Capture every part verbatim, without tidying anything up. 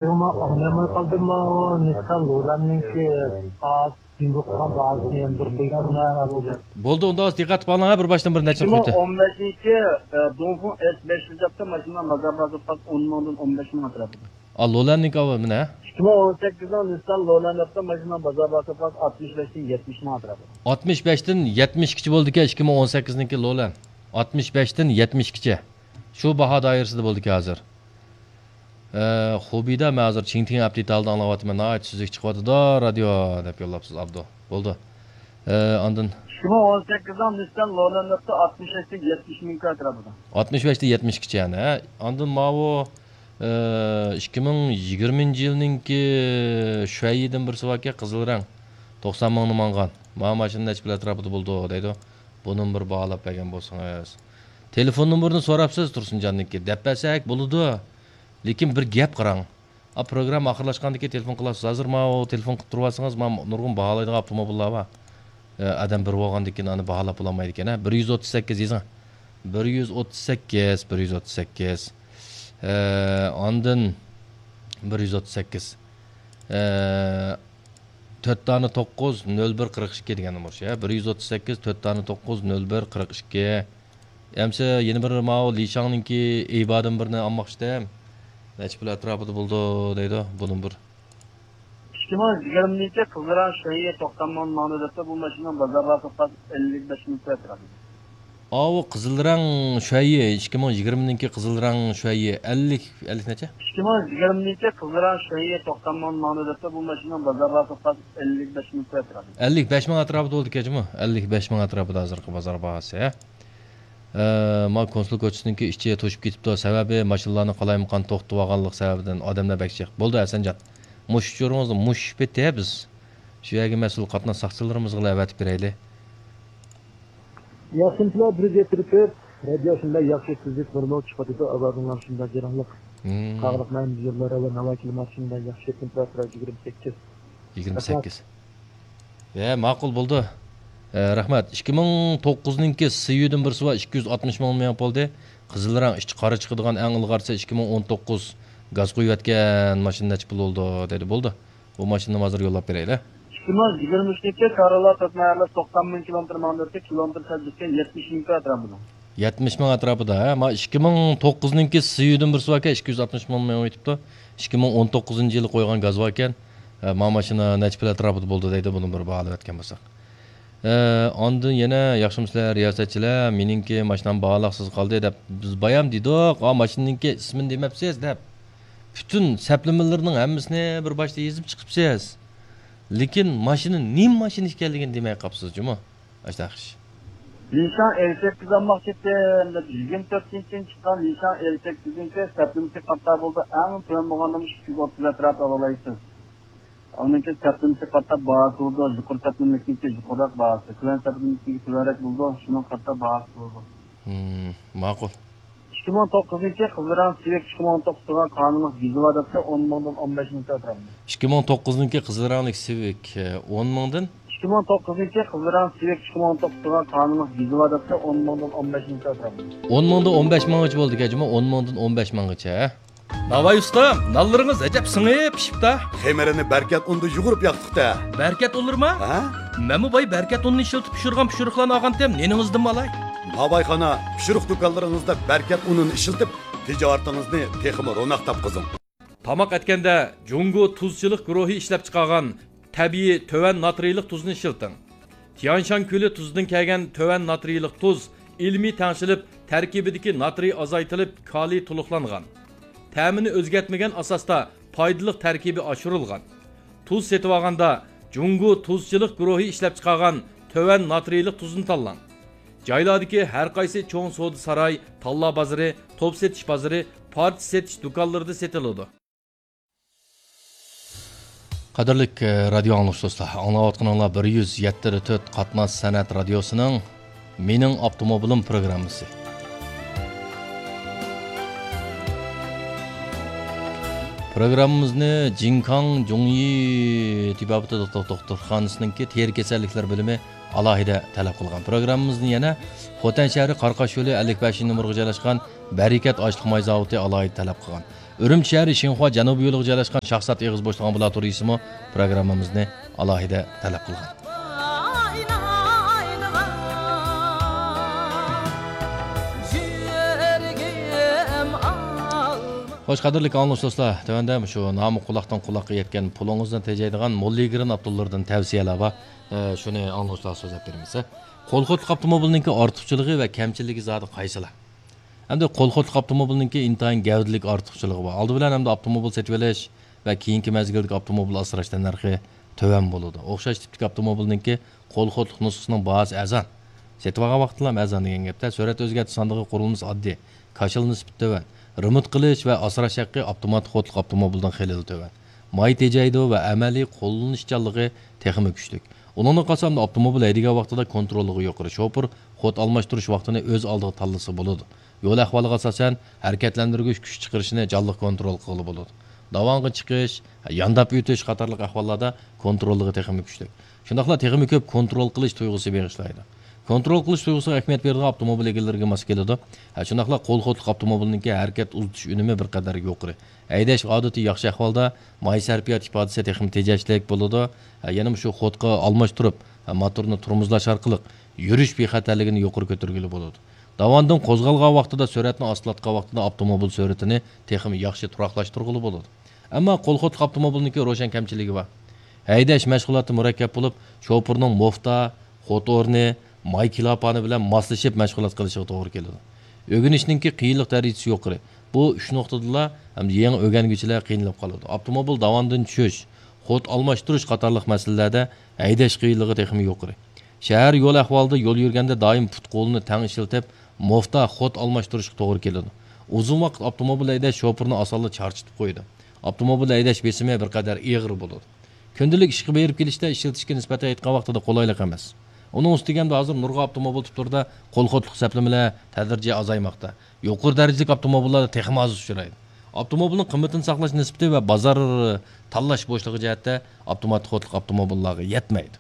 ئەمما ئاڭلىيالماي قالدىم، ماۋۇ نىسسان لولاننىڭكى باھاسى، جۇڭگو قىلغان باھاسىنى يەنە بىر قويسۇڭلار. بولدى، ئۇنداق دىققەت قىلىپ ئالىڭ، ھە، بىر باشتىن بىر نەچچە ئىككى مىڭ ئون بەشنىڭكى، ئە، دۇڭفېڭ ئېس بەش يۈز دەپتۇ، ماشىنىنىڭ بازار باھاسى پاس ئون مىڭدىن ئون بەش مىڭ ئەتراپىدا. ئا، لولەننىڭكى ئاۋۇ مانا. ئىككى مىڭ ئون سەككىزنىڭ نىسسان لولان دەپتۇ، ماشىنىنىڭ بازار باھاسى پاس ئاتمىش بەشتىن يەتمىش مىڭ ئەتراپىدا. ئاتمىش بەشتىن يەتمىشكىچە بولىدىكەن، ئىككى مىڭ ئون سەككىزنىڭكى لولان. ئاتمىش بەشتىن يەتمىشكىچە. شۇ باھا دائىرىسىدە بولىدىكەن ھازىر. ئە، خۇبىدا مەن ھازىر چىڭتىڭ ئەپتىتالدا ئاڭلاۋاتىمەن، ناھايىتى سۈزۈك چىقىۋاتىدۇ رادىيو، دەپ يوللاپسىز، ئابدۇ. بولدى. ئە، ئاندىن. ئىككى مىڭ ئون سەككىزنىڭ نىسسان لولان دەپتۇ، ئاتمىش بەشتىن يەتمىش مىڭ ئەتراپىدا. ئاتمىش بەشتىن يەتمىشكىچە يەنە، ھە؟ ئاندىن ماۋۇ، ئە، ئىككى مىڭ يىگىرمىنچى يىلنىڭكى شۈەييىدىن بىرسى باركەن، قىزىل رەڭ. توقسان مىڭنى ماڭغان. ماۋۇ ماشىنا نەچچە پۇل ئەتراپىدا بولىدۇ، دەيدۇ. بۇنىمۇ بىر باھالاپ بەرگەن بولسىڭىز. تېلېفون نومۇرىنى سوراپسىز تۇرسۇنجاننىڭكى. دەپ بەرسەك بولىدۇ. لېكىن بىر گەپ قاراڭ. ئا، پروگرامما ئاخىرلاشقاندىن كېيىن تېلېفون قىلارسىز. ھازىر ماۋۇ تېلېفون قىلىپ تۇرۇۋالسىڭىز، مانا نۇرغۇن باھالايدىغان ئاپتوموبىللار بار. ئە، ئادەم بىر بولغاندىن كېيىن ئانى باھالاپ بولالمايدىكەن، ھە. بىر يۈز ئوتتۇز سەككىز يېزىڭ. بىر يۈز ئوتتۇز سەككىز، بىر يۈز ئوتتۇز سەككىز. ئە، ئاندىن بىر يۈز ئوتتۇز سەككىز. ئە، تۆت دانە توققۇز، نۆل بىر، قىرىق ئىككى دېگەن نومۇر شۇ، ھە. بىر يۈز ئوتتۇز سەككىز، تۆت دانە توققۇز، نۆل بىر، قىرىق ئىككى. ئەمسە يەنە بىر ماۋۇ لىشاڭنىڭكى ئېيبادىن بىرنى ئالماقچىدىم. نەچچە پۇل ئەتراپىدا بولىدۇ دەيدۇ، بۇنىمۇ بىر. ئىككى مىڭ يىگىرمىنچى قىزىل رەڭ شۈەييى توقسان مىڭ ماڭدى دەپتۇ، بۇ ماشىنىنىڭ بازار باھاسى پاس ئەللىك بەش مىڭ ئەتراپىدا. ئاۋۇ قىزىل رەڭ شۈەييى، ئىككى مىڭ يىگىرمىنىڭكى قىزىل رەڭ شۈەييى ئەللىك، ئەللىك نەچچە؟ ئىككى مىڭ يىگىرمىنچى قىزىل رەڭ شۈەييى توقسان مىڭ ماڭدى دەپتۇ، بۇ ماشىنىنىڭ بازار باھاسى پاس ئەللىك بەش مىڭ ئەتراپىدا. ئەللىك بەش مىڭ ئەتراپىدا بولىدىكەن جۇمۇ. ئەللىك بەش مىڭ ئەتراپىدا ھازىرقى بازار باھاسى، ھە؟ ئە، ما كونسۇل كوچىسىنىڭكى ئىچى توشۇپ كېتىپتۇ، سەۋەبى ماشىنىلارنى قالايمىقان توختىتىۋالغانلىق سەۋەبىدىن ئادەملەر بەك جىق. بولدى ھەسەنجان، مۇشۇ ئۇچۇرىڭىزنى مۇشۇ پېتى بىز شۇ يەرگە مەسئۇل قاتناش ساقچىلىرىمىزغىلا ئەۋەتىپ بېرەيلى. ياخشىمۇسىلەر، بىر يۈز يەتتە تۆت رادىيو شۇنداق ياخشى تۈزۈك نورمال چىقىۋاتىدۇ، ئاۋازىڭلار شۇنداق جاراڭلىق. مم. قاغىلىق مەن يوللار ۋە ناۋاي كىلىمات شۇنداق ياخشى تېمپېراتۇرا يىگىرمە سەككىز. يىگىرمە سەككىز. ھە، ماقۇل بولدى. ھە، رەھمەت. ئىككى مىڭ توققۇزنىڭكى سىيۇدىن بىرسى بار، ئىككى يۈز ئاتمىش مىڭ مېڭىپ بولدى. قىزىل رەڭ ئىچى قارا چىقىدىغان ئەڭ ئىلغارسى ئىككى مىڭ ئون توققۇز گاز قۇيۇۋەتكەن ماشىنا نەچچە پۇل بولىدۇ دەيدۇ. بولدى. بۇ ماشىنىنى ھازىر يوللاپ بېرەيلى. ئىككى مىڭ يىگىرمە ئۈچىنچى كارلا تۆت مايارلىق توقسان مىڭ كىلومېتىر ماڭدى، كىلومېتىر سەل يەتمىش مىڭ ئەتراپىدا. يەتمىش مىڭ ئەتراپىدا، ھە؟ ما ئىككى مىڭ توققۇزنىڭكى سىيۇدىن بىرسى باركەن، ئىككى يۈز ئاتمىش مىڭ مېڭىپ كېتىپتۇ. ئىككى مىڭ ئون توققۇزىنچى يىلى قويغان گاز باركەن. ھە، ما ماشىنا نەچچە پۇل ئەتراپىدا بولدى دەيدۇ، بۇنى بىر باھالىۋەتكەن بولساق. ھە، ئاندىن يەنە، ياخشىمۇسىلەر رىياسەتچىلەر، مېنىڭكى ماشىنام باھالاقسىز قالدى دەپ، بىز بايام دېدۇق، ئا، ماشىنىڭكى ئىسمىنى دېمەپسىز دەپ. پۈتۈن سەپلىمىلىرىنىڭ ھەممىسىنى بىر باشتا يېزىپ چىقىپسىز. لېكىن ماشىنا نېمە ماشىنا ئىكەنلىكىنى دېمەي قاپسىز جۇمۇ. ئاشۇنداق ئىش. نىشان ئەل سەككىز ئالماقچى ئىدىم دەپ، يىگىرمە تۆتىنچى چىققان نىشان ئەل سەككىزنىڭكى سەپلىمىسى قاتار بولدى، ئەڭ تۆۋەن بولغاندا ئىككى يۈز ئوتتۇز ئەتراپى ئالالايسىز. ئۇنىڭكى سەپلىمىسى قاتار باھاسى بولىدۇ، يۇقىرى سەپلىمىلىكنىڭكى يۇقىرىراق باھاسى، تۆۋەن سەپلىمىلىكنىڭكى تۆۋەنرەك بولىدۇ، شۇنىڭغا قارىتا باھاسى بولىدۇ. ھىم، ماقۇل. ئىككى مىڭ توققۇزىنچى قىزىل رەڭ سىۋىك ئىككى مىڭ ئون توققۇز تۇرغان قانۇنلۇق گېزى بار دەپتۇ، ئون مىڭدىن ئون بەش مىڭ ئەتراپىدا. ئىككى مىڭ توققۇزنىڭكى قىزىل رەڭلىك سىۋىك، ئون مىڭدىن؟ ئىككى مىڭ توققۇزىنچى قىزىل رەڭ سىۋىك ئىككى مىڭ ئون توققۇز تۇرغان قانۇنلۇق گېزى بار دەپتۇ، ئون مىڭدىن ئون بەش مىڭ ئەتراپىدا. ئون مىڭدىن ئون بەش مىڭغىچە بولدىكەن جۇمۇ، ئون مىڭدىن ئون بەش مىڭغىچە، ھە؟ ناۋاي ئۇستام، نانلىرىڭىز ئەجەب سىڭىپ پىشىپتا. خېمىرىنى بەركەت ئۇندا يۇغۇرۇپ ياقتۇق-تە. بەركەت ئۇنلىرىما؟ ھە؟ مەنمۇ باي بەركەت ئۇنىنى ئىشلىتىپ پىشۇرغان پىشۇرۇقلارنى ئالغانتىم، نېنىڭىزدىنمۇ ئالاي؟ ناۋايخانا، پىشۇرۇق دۇكانلىرىڭىزدا بەركەت ئۇنىنى ئىشلىتىپ، تىجارىتىڭىزنى تېخىمۇ روناق تاپقۇزۇڭ. تاماق ئەتكەندە جۇڭگو تۇزچىلىق گۇرۇھى ئىشلەپچىقارغان تەبىئىي تۆۋەن ناترىيلىق تۇزنى ئىشلىتىڭ. تيەنشان كۆلى تۇزىدىن كەلگەن تۆۋەن ناترىيلىق تۇز ئىلمىي تەڭشىلىپ، تەركىبىدىكى ناترىي ئازايتىلىپ، كالىي تولۇقلانغان. تەمىنى ئۆزگەرتمىگەن ئاساستا پايدىلىق تەركىبى ئاشۇرۇلغان. تۇز سېتىۋالغاندا جۇڭگو تۇزچىلىق گۇرۇھى ئىشلەپچىقارغان تۆۋەن ناترىيلىق تۇزنى تاللاڭ. جايلاردىكى ھەرقايسى چوڭ سودا ساراي، تاللا بازىرى، توپ سېتىش بازىرى، پارچە سېتىش دۇكانلىرىدا سېتىلىدۇ. قەدىرلىك، ئە، رادىيو ئاڭلىغۇچى دوستلار، ئاڭلاۋاتقىنىڭلار بىر يۈز يەتتە تۆت قاتناش سەنئەت رادىيوسىنىڭ مېنىڭ ئاپتوموبىلىم پروگراممىسى. پروگراممىمىزنى جىڭكاڭ جۇڭيى تېبابىتى دوختۇر-، دوختۇرخانىسىنىڭكى تېرە كېسەللىكلەر بۆلۈمى ئالاھىدە تەلەپ قىلغان. پروگراممىمىزنى يەنە خوتەن شەھىرى قاراقاش يولى ئەللىك بەشىنچى نومۇرغا جايلاشقان بەرىكەت ئاشلىق ماي زاۋۇتى ئالاھىدە تەلەپ قىلغان. ئۈرۈمچى شەھىرى شىنخۇا جەنۇبىي يولىغا جايلاشقان شاخسات ئېغىز بوشلۇق ئامبۇلاتورىيىسىمۇ پروگراممىمىزنى ئالاھىدە تەلەپ قىلغان. خوش، قەدىرلىك ئاڭلىغۇچى دوستلار، تۆۋەندە شۇ نامى قۇلاقتىن قۇلاققا يەتكەن، پۇلىڭىزنى تېجەيدىغان موللىگرېن ئاپتوللىرىدىن تەۋسىيەلەر بار. ئە، شۇنى ئاڭلىغۇچىلارغا سۆزلەپ بېرىمىز. قول خوتلۇق ئاپتوموبىلنىڭكى ئارتۇقچىلىقى ۋە كەمچىلىكى زادى قايسىلار؟ ئەمدى قول خوتلۇق ئاپتوموبىلنىڭكى ئىنتايىن گەۋدىلىك ئارتۇقچىلىقى بار. ئالدى بىلەن ئەمدى ئاپتوموبىل سېتىۋېلىش ۋە كېيىنكى مەزگىلدىكى ئاپتوموبىل ئاسراش تەننەرخى تۆۋەن بولىدۇ. ئوخشاش تىپتىكى ئاپتوموبىلنىڭكى قول خوتلۇق نۇسخىسىنىڭ باھاسى ئەرزان. سېتىۋالغان ۋاقتىلا ئەرزان دېگەن گەپتە، سۈرئەت ئۆزگەرتىش ساندۇقى قۇرۇلمىسى ئاددىي، كاشىلا نىسبىتى تۆۋەن، رېمونت قىلىش ۋە ئاسراش ھەققى ئاپتوماتىك خوتلۇق ئاپتوموبىلدىن خېلىلا تۆۋەن. ماي تېجەيدۇ ۋە ئەمەلىي قوللىنىشچانلىقى تېخىمۇ كۈچلۈك. ئۇنىڭدىن قالسا ئاپتوموبىل ھەيدىگەن ۋاقتىدا كونتروللۇقى يۇقىرى، شوپۇر خوت ئالماشتۇرۇش ۋاقتىنى ئۆز ئالدىغا تاللىسا بولىدۇ. يول ئەھۋالىغا ئاساسەن، ھەرىكەتلەندۈرگۈچ كۈچ چىقىرىشنى جانلىق كونترول قىلغىلى بولىدۇ. داۋانغا چىقىش، يانداپ ئۆتۈش قاتارلىق ئەھۋاللاردا كونتروللۇقى تېخىمۇ كۈچلۈك. شۇنداقلا تېخىمۇ كۆپ كونترول قىلىش تۇيغۇسى بېغىشلايدۇ. كونترول قىلىش تۇيغۇسىغا ئەھمىيەت بېرىدىغان ئاپتوموبىل ئىگىلىرىگە ماس كېلىدۇ. ھە، شۇنداقلا قول خوتلۇق ئاپتوموبىلنىڭكى ھەرىكەت ئۇزىتىش ئۈنۈمى بىر قەدەر يۇقىرى. ھەيدەش ئادىتى ياخشى ئەھۋالدا، ماي سەرپىيات ئىپادىسى تېخىمۇ تېجەشلىك بولىدۇ. ھە، يەنە شۇ خوتقا ئالماشتۇرۇپ، ھە، موتورنى تورمۇزلاش ئارقىلىق يۈرۈش بىخەتەرلىكىنى يۇقىرى كۆتۈرگىلى بولىدۇ. داۋاندىن قوزغالغان ۋاقتىدا، سۈرئەتنى ئاستىلاتقان ۋاقتىدا ئاپتوموبىل سۈرئىتىنى تېخىمۇ ياخشى تۇراقلاشتۇرغىلى بولىدۇ. ئەمما قول خوتلۇق ئاپتوموبىلنىڭكى روشەن كەمچىلىكى بار. ھەيدەش مەشغۇلاتى مۇرەككەپ بولۇپ، شوپۇرنىڭ موفتا، خوت ئورنى، ماي كىلاپانى بىلەن ماسلىشىپ مەشغۇلات قىلىشىغا توغرا كېلىدۇ. ئۆگىنىشنىڭكى قىيىنلىق دەرىجىسى يۇقىرى. بۇ ئۈچ نۇقتىدىلا ھەم يېڭى ئۆگەنگۈچىلەر قىينىلىپ قالىدۇ. ئاپتوموبىل داۋاندىن چۈشۈش، خوت ئالماشتۇرۇش قاتارلىق مەسىلىلەردە ھەيدەش قىيىنلىقى تېخىمۇ يۇقىرى. شەھەر يول ئەھۋالىدا يول يۈرگەندە دائىم پۇت-قولنى تەڭ ئىشلىتىپ، موفتا خوت ئالماشتۇرۇشقا توغرا كېلىدۇ. ئۇزۇن ۋاقىت ئاپتوموبىل ھەيدەش شوپۇرنى ئاسانلا چارچىتىپ قويىدۇ. ئاپتوموبىل ھەيدەش بېسىمى بىر قەدەر ئېغىر بولىدۇ. كۈندىلىك ئىشقا بېرىپ كېلىشتە ئىشلىتىشكە نىسبەتەن ئېيتقان ۋاقتىدا قولايلىق ئەمەس. ئۇنىڭ ئۈستىگە ئەمدى ھازىر نۇرغۇن ئاپتوموبىل تۈرلىرىدە قول خوتلۇق سەپلىمىلەر تەدرىجىي ئازايماقتا. يۇقىرى دەرىجىلىك ئاپتوموبىللاردا تېخىمۇ ئاز ئۇچرايدۇ. ئاپتوموبىلنىڭ قىممىتىنى ساقلاش نىسبىتى ۋە بازار تاللاش بوشلۇقى جەھەتتە ئاپتوماتىك خوتلۇق ئاپتوموبىللارغا يەتمەيدۇ.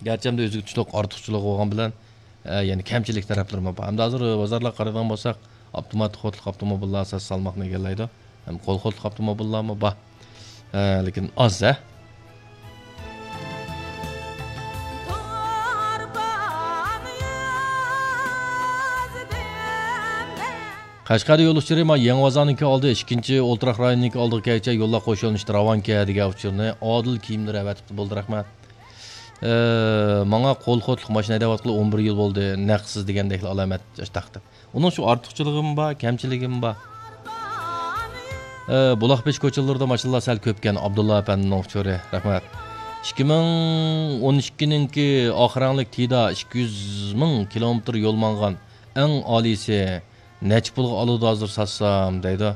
گەرچە ئەمدى ئۆزىگە تۇشلۇق ئارتۇقچىلىقى بولغان بىلەن، ئە، يەنە كەمچىلىك تەرەپلىرىمۇ بار. ئەمدى ھازىر بازارلارغا قارايدىغان بولساق، ئاپتوماتىك خوتلۇق ئاپتوموبىللار ئاساسىي سالماقنى ئىگىلەيدۇ. ھەم قول خوتلۇق ئاپتوموبىللارمۇ بار. ئە، لېكىن ئاز، ھە؟ قەشقەردە يول ئۇچۇرى، ما، يېڭى بازارنىڭكى ئالدى، ئىككىنچى ئولتۇراق رايونىنىڭكى ئالدىغا كەلگۈچە يوللار قوش يۆنىلىشتە راۋانكەن دېگەن ئۇچۇرنى ئادىل كىيىملىرى ئەۋەتىپتۇ. بولدى، رەھمەت. ئە، ماڭا قول خوتلۇق ماشىنا ھەيدەۋاتقىلى ئون بىر يىل بولدى، نەقسىز دېگەندەكلا ئالامەت تاقتى. ئۇنىڭ شۇ ئارتۇقچىلىقىمۇ بار، كەمچىلىكىمۇ بار. ئە، بۇلاقبېشى كوچىلىرىدا ماشىنىلار سەل كۆپكەن، ئابدۇللا ئەپەندىنىڭ ئۇچۇرى، رەھمەت. ئىككى مىڭ ئون ئىككىنىڭكى ئاق رەڭلىك تىدا ئىككى يۈز مىڭ كىلومېتىر يول ماڭغان، ئەڭ ئالىيسى نەچچە پۇلغا ئالىدۇ ھازىر ساتسام دەيدۇ.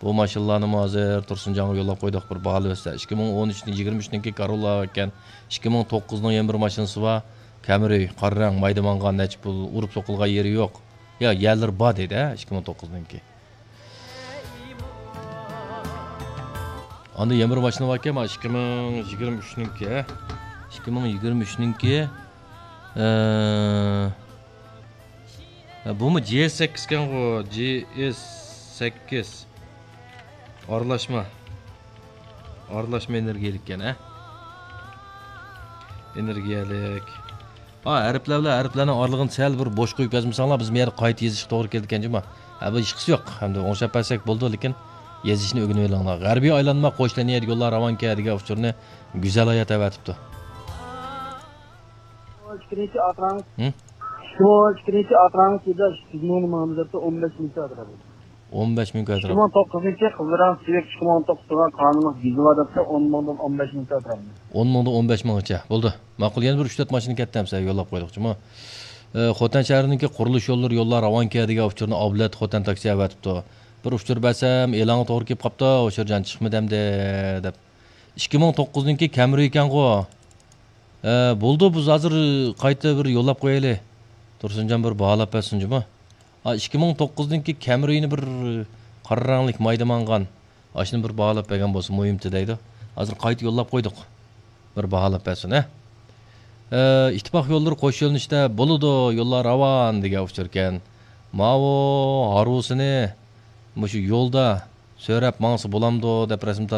بۇ ماشىنىلارنىمۇ ھازىر تۇرسۇنجانغا يوللاپ قويدۇق، بىر باھالىۋەتسە. ئىككى مىڭ ئون ئۈچ، يىگىرمە ئۈچنىڭكى كاروللا ئىكەن. ئىككى مىڭ توققۇزنىڭ يەنە بىر ماشىنىسى بار. كامرى، قارا رەڭ، مايدا ماڭغان، نەچچە پۇل، ئۇرۇپ سوقۇلغان يېرى يوق. يا، يەرلىرى بار دەيدۇ، ھە، ئىككى مىڭ توققۇزنىڭكى. ئاندىن يەنە بىر ماشىنا باركەن، مانا ئىككى مىڭ يىگىرمە ئۈچنىڭكى، ھە. ئىككى مىڭ يىگىرمە ئۈچنىڭكى، ئە، ھە، بۇمۇ جي ئېس سەككىز ئىكەنغۇ، جي ئېس سەككىز. ئارىلاشما. ئارىلاشما ئېنېرگىيەلىك ئىكەن، ھە؟ ئېنېرگىيەلىك. ھا، ھەرپلەر بىلەن ھەرپلەرنىڭ ئارىلىقىنى سەل بىر بوش قويۇپ يازمىساڭلار، بىز بۇ يەردە قايتا يېزىشقا توغرا كېلىدىكەن جۇما. ھە، بۇ ئىشقىسى يوق. ئەمدى ئوڭشاپ بەرسەك بولىدۇ، لېكىن يېزىشنى ئۆگىنىۋېلىڭلار. غەربىي ئايلانما قوش لىنىيە يوللار راۋانكەن دېگەن ئۇچۇرنى گۈزەل ھايات ئەۋەتىپتۇ. ئىككىنچى ئاتراڭ. ھە؟ ئىككى مىڭ ئىككىنچى ئاتراڭ سىدا ئىككى يۈز مىڭنى ماڭدى دەپتۇ، ئون بەش مىڭ ئاتراڭ. ئون بەش مىڭ ئىككى ئاتراڭ. مىڭ توققۇزىنچى قىزىل رەڭ سىۋىك ئىككى مىڭ توققۇزغا قانۇنلۇق دېزىلى بار دەپتۇ، ئون مىڭدىن ئون بەش مىڭ ئاتراڭ. ئون مىڭدىن ئون بەش مىڭغىچە. بولدى. ماقۇل، يەنە بىر ئۈچ تۆت ماشىنا كەتتى ئەمسە يوللاپ قويدۇق جۇمۇ. ئە، خوتەن شەھىرىنىڭكى قۇرۇلۇش يوللىرى يوللار راۋانكەن دېگەن ئۇچۇرنى ئابلەت خوتەن تاكسى ئەۋەتىپتۇ. بىر ئۇچۇر بەرسەم ئېلانغا توغرا كېلىپ قاپتۇ، ئۇچۇرجان چىقمىدى ئەمدى دەپ. ئىككى مىڭ توققۇزنىڭكى كامرى ئىكەنغۇ. ئە، بولدى، بىز ھازىر قايتا بىر يوللاپ قويايلى. تۇرسۇنجان بىر باھالاپ بەرسۇن جۇمۇ. ئا، ئىككى مىڭ توققۇزنىڭكى كامرىنى بىر قارا رەڭلىك مايدا ماڭغان. ئاشۇنى بىر باھالاپ بەرگەن بولسا مۇھىمتى دەيدۇ. ھازىر قايتا يوللاپ قويدۇق. بىر باھالاپ بەرسۇن، ھە. ئە، ئىتتىپاق يوللىرى قوش يۆنىلىشتە بولىدۇ، يوللار راۋان دېگەن ئۇچۇركەن. ماۋۇ ھارۋىسىنى مۇشۇ يولدا سۆرەپ ماڭسا بولامدۇ دەپ رەسىم تارتىپ